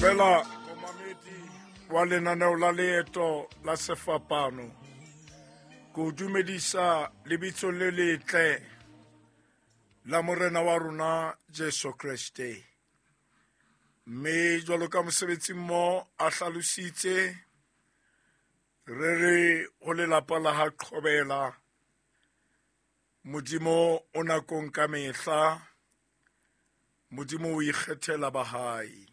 Dumela momamedi wa lenaneo la Leeto la Sefapano. Ke o dumedisa lebitso le letle la Morena wa rona Jesu Kreste. Mme jwalo ka mosebetsi mmo a hlalositse, re re ho lelapa la ha Qhobela, Modimo o nakong ka mehla, Modimo o ikgethela ba hae.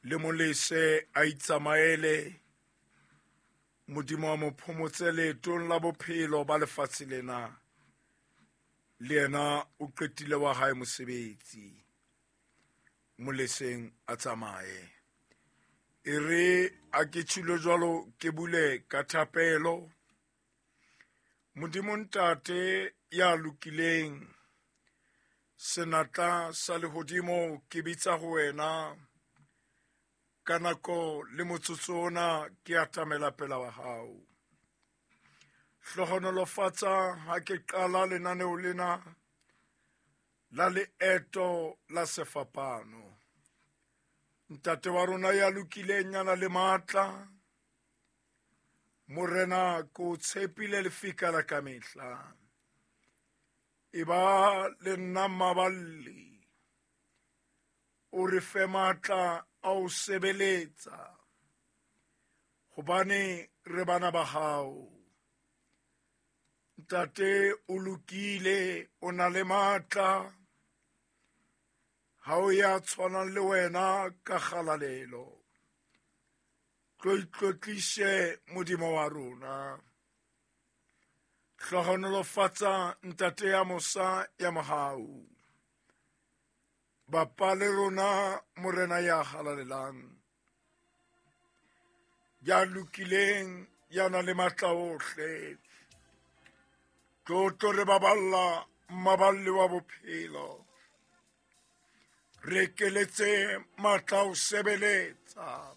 Le molese a itsamaele, Modimo a mo phomotse leetong la bophelo ba lefatshe lena. Le yena o qetile wa hae mosebetsi. Moleseng a tsamaye. E re a ke tshilo jwalo ke bule ka thapelo. Modimo Ntate ya lokileng, senatla sa lehodimo ke bitsa ho wena ka nako le motsotso ona ke atamela pela wa hao. Hlohonolofatsa ha ke qala lenaneo lena la Leeto la Sefapano. Ntate wa rona ya lokileng ya na le matla, Morena ke o tshepile lefika la kamehla. E ba le nna maballi, o re fe matla a o sebeletsa, hobane re bana ba hao. Ntate o lokile, o na le matla, ha o ya tshwanang le wena ka kgalalelo. Tlo itlotlise Modimo wa rona. Hlohonolofatsa ntate ya mosa ya mohau. Bapa le rona Morena ya halalelang, ya lokileng, ya nang le matla ohle. Tlo tlo re baballa mmaballi wa bophelo. Re ekeletse matla o sebeletsa.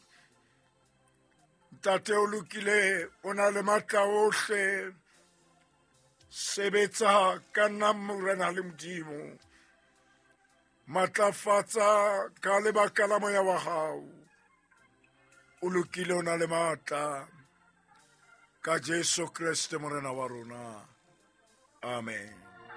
Ntate o lokile, o na le matla ohle. Sebetsa ka nna Morena le Modimo. Matlafatsa ka lebaka la moya wa hao. O lokile, o na le matla. Ka Jesu Kreste Morena wa rona. Amen.